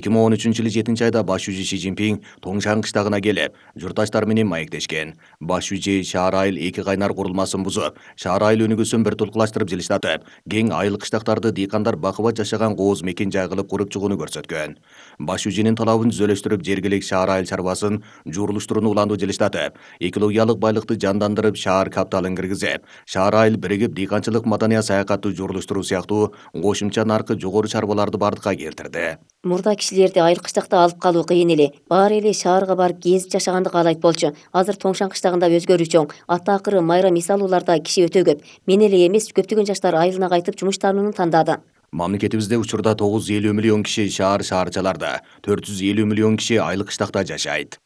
2013-жылы 7-айда баш жүзү Си Цзиньпин Тоңшан кыштагына келип, журтташтар менен маектешкен. Баш жүзү шаар айыл эки кайнар курулмасын бузуп, шаар айыл өнүгүүсүн бир тулкулаштырып жылыштатып, кең айыл кыштактарды дыйкандар бакыбат жашаган кооз мекен жай кылып куруп чыгууну көрсөткөн. Баш жүзүнүн талабын түзөлөштүрүп, жергиликтүү шаар айыл чарбасын журулуштурууну уланды жылыштатып, экологиялык байлыкты жандандырып, шаар капиталын киргизип, шаар айыл биригип дыйканчылык маданият саякатты журулуштуруу сыяктуу кошумча наркы жогору чарбаларды бардыкка келтирди. Мурда кишилерди айыл кыштакта алып калуу кыйын эле. Баары эле шаарга барып кезип жашаганды каалайт болчу. Азыр Тоңшан кыштагында өзгөрүү чоң. Атаакыры майра мисалууларда киши өтө көп. Мен эле эмес, көптөгөн жаштар айылына кайтып жумуштанууну тандады. Мамлекетибизде учурда 950 миллион киши шаарчаларда, 450 миллион киши айыл кыштакта жашайт.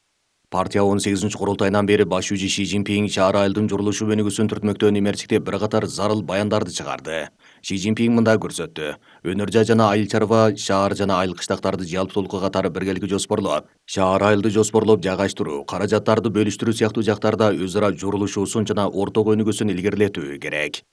Партия 18-курултайынан бери баш жүзү Си Цзиньпин шаар айылдын журулушу өнүгүүсүн түртмөктөө эмерчикте бир катар зарыл баяндарды чыгарды. Си Цзиньпин мындай көрсөттү: өнөр жай жана айыл чарба, шаар жана айыл кыштактарды жалпы катары биргеликте жоспорлоп, шаар айылды жоспорлоп жайгаштыруу, каражаттарды бөлүштүрүү сыяктуу жактарда өз ара журулушуусун жана орток өнүгүүсүн илгерилетүү керек.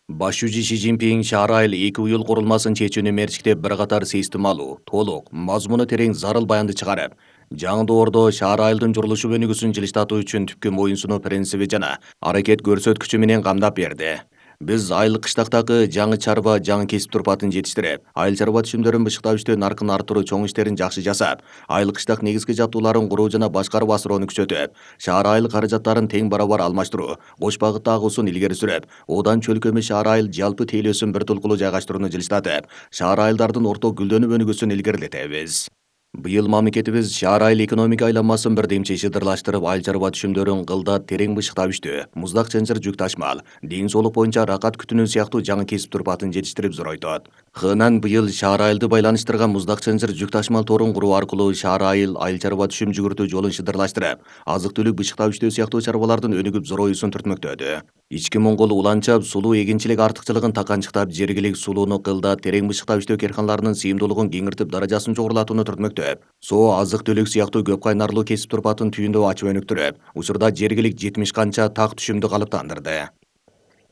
Баш жүзү Си Цзиньпин шаар айыл эки уюл курулмасын чечүүнү мерчикте бир катар системалуу, толук, мазмуну терең зарыл баянды чыгарып, жаңы доордо шаар айылдын журулушу өнүгүүсүн жылыштатуу үчүн түпкү моюнсунуу принциби жана аракет көрсөткүчү менен камдап берди. Биз айыл кыштактагы жаңы чарба, жаңы кесип турпатын жетиштирип, айыл чарба түшүмдөрүн бышыктап иштөө наркын артыруу чоң иштерин жакшы жасап, айыл кыштак негизги жабдууларын куруу жана башкарып асыроону күчөтүп, шаар айыл каражаттарын тең барабар алмаштыруу, кош багытта агуусун илгери сүрүп, одан чөлкөмү шаар айыл жалпы тейлөөсүн бир тулкулуу жайгаштырууну жылыштатып, шаар айылдардын орток гүлдөнүп өнүгүүсүн илгерилетебиз. Быйыл мамлекетибиз шаар айыл экономика айланмасын бирдемчи шыдырлаштырып, айыл чарба түшүмдөрүн кылдат терең бышыктап иштөө, муздак чынжыр жүк ташмал, ден соолук боюнча ракат күтүнүү сыяктуу жаңы кесип турпатын жетиштирип зоройтот. Хынан быйыл шаар айылды байланыштырган муздак чынжыр жүк ташмал торун куруу аркылуу шаар айыл чарба түшүм жүгүртүү жолун шыдырлаштырып, азык түлүк бышыктап иштөө сыяктуу чарбалардын өнүгүп зороюусун түртмөктөдү. Ички Моңгол уланчап сулуу эгинчилик артыкчылыгын таканчыктап, жергиликтүү сулууну кылдат терең бышыктап иштөө карканаларынын сыйымдуулугун кеңиртип, даражасын жогорулатууну түртмөктөп, соо, азык түлүк сыяктуу көп кайнарлуу кесип турпатын түйүндөө ачып өнүктүрүп, учурда жергиликтүү 70 канча так түшүмдү калыптандырды.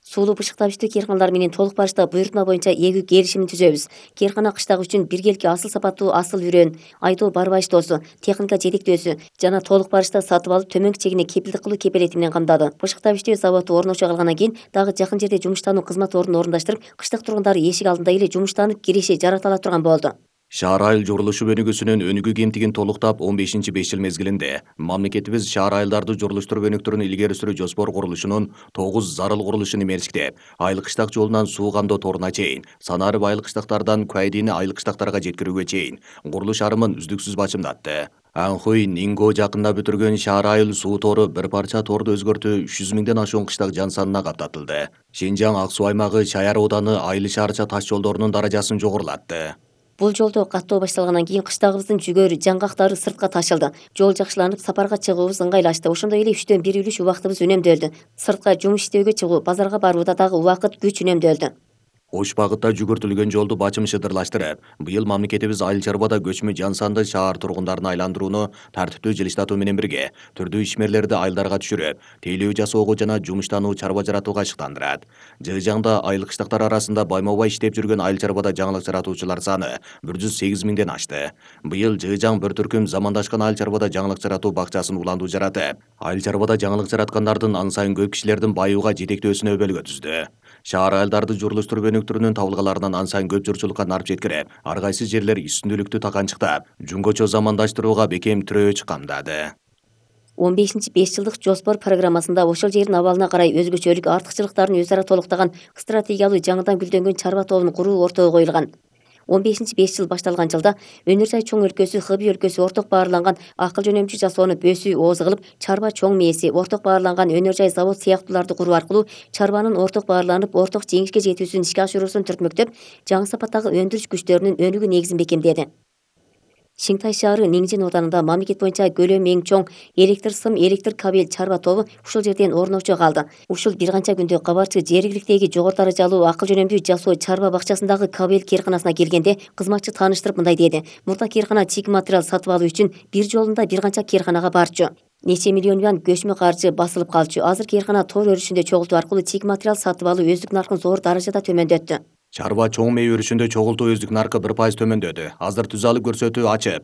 Сулуу бышыктап иштөө керканалары менен толук барышта буйртма боюнча эгүү келишимин түзөбүз. Керкана кыштак үчүн биргеликке асыл сапаттуу асыл үрөн, айдоо барбайыштоосу, техника жетектөөсү жана толук барышта сатып алып төмөнкү чегине кепилдик кылуу кепелети менен камдады. Бышыктап иштөө заводу орношо калгандан кийин дагы жакын жерде жумуштануу кызмат ордун орундаштырып, кыштак тургундары эшик алдында эле жумуштанып киреше жарата ала турган болду. Шаар айыл журулушу өнүгүүсүнүн өнүгүү кемтигин толуктап 15-5 жыл мезгилинде мамлекетибиз шаар айылдарды журулуштуруп өнүктүрүүнү илгери сүрүү жоспор курулушунун 9 зарыл курулушун эмерчиктеп, айыл кыштак жолунан суу кандоо торуна чейин, санарып айыл кыштактардан Куайдини айыл кыштактарга жеткирүүгө чейин курулуш арымын үздүксүз бачымдатты. Анхуй Нинго жакында бүтүргөн шаар айыл суу тору бир парча торду өзгөртүү 300 миңден ашуун кыштак жан санына каптатылды. Шинжаң Ак Суу аймагы Чаяр ауданы айыл шаарча таш жолдорунун даражасын жогорулатты. Бул жолдо каттоо башталгандан кийин кыштагыбыздын жүгөрү, жаңгактары сыртка ташылды. Жол жакшыланып, сапарга чыгуубуз ыңгайлашты. Ошондой эле 3-1 үлүш убактыбыз үнөмдөлдү. Сыртка жумуш иштөөгө чыгуу, базарга барууда дагы убакыт, күч үнөмдөлдү. Кош багытта жүгүртүлгөн жолду бачым шыдырлаштырып, быйыл мамлекетибиз айыл чарбада көчмө жан санды шаар тургундарын айландырууну тартиптүү жылыштатуу менен бирге түрдүү ишмерлерди айылдарга түшүрүп, тейлөө жасоого жана жумуштануу чарба жаратууга ашыктандырат. Жыгжаңда айыл кыштактар арасында байма-бай иштеп жүргөн айыл чарбада жаңылык жаратуучулар саны 108 миңден ашты. Быйыл Жыгжаң бір түркүм замандашкан айыл чарбада жаңылык жаратуу бакчасын уландуу жаратып, айыл чарбада жаңылык жараткандардын аны сайын көп кишилердин байууга жетектөөсүнө өбөлгө түздү. Шаар айылдарды журулуштуруп өнүктүрүүнүн табылгаларынан аны сайын көп журчулукка нарып жеткирип, ар кайсы жерлер үстүндүүлүктү таканчыктап, жөнгөчө замандаштырууга бекем тирөөч камдады. 15-5 жылдык жоспор программасында ошол жердин абалына карай өзгөчөлүк артыкчылыктарын өз ара толуктаган стратегиялуу жаңыдан гүлдөнгөн чарба тобун куруу ортого коюлган. 15-5 жыл башталган жылда өнөр жай чоң өлкөсү, Хыбый өлкөсү орток баарланган акыл жөнөмчү жасоону бөөсү ооз кылып, чарба чоң мээси, орток баарланган өнөр жай завод сыяктууларды куруу аркылуу чарбанын орток баарланып, орток жеңишке жетүүсүн ишке ашыруусун түртмөктөп, жаңы сапаттагы өндүрүш күчтөрүнүн өнүгүү негизин бекемдеди. Шиңтай шаары Ниңжин ауданында мамлекет боюнча көлөмү эң чоң электр сым, электр кабель чарба тобу ушул жерден орночо калды. Ушул бир канча күндө кабарчы жергиликтеги жогору даражалуу акыл жөнөмдүү жасоо чарба бакчасындагы кабель керканасына келгенде кызматчы тааныштырып мындай деди: мурда керкана чийик материал сатып алуу үчүн бир жолунда бир канча керканага барчу. Нече миллион юан көчмө каржы басылып калчу. Азыр керкана тор өрүшүндө чогултуу аркылуу чийик материал сатып алуу өздүк наркын зор даражада төмөндөттү. Чарба чоң мээ өрүшүндө чогултуу өздүк наркы 1% төмөндөдү. Азыр түз алып көрсөтүү ачып.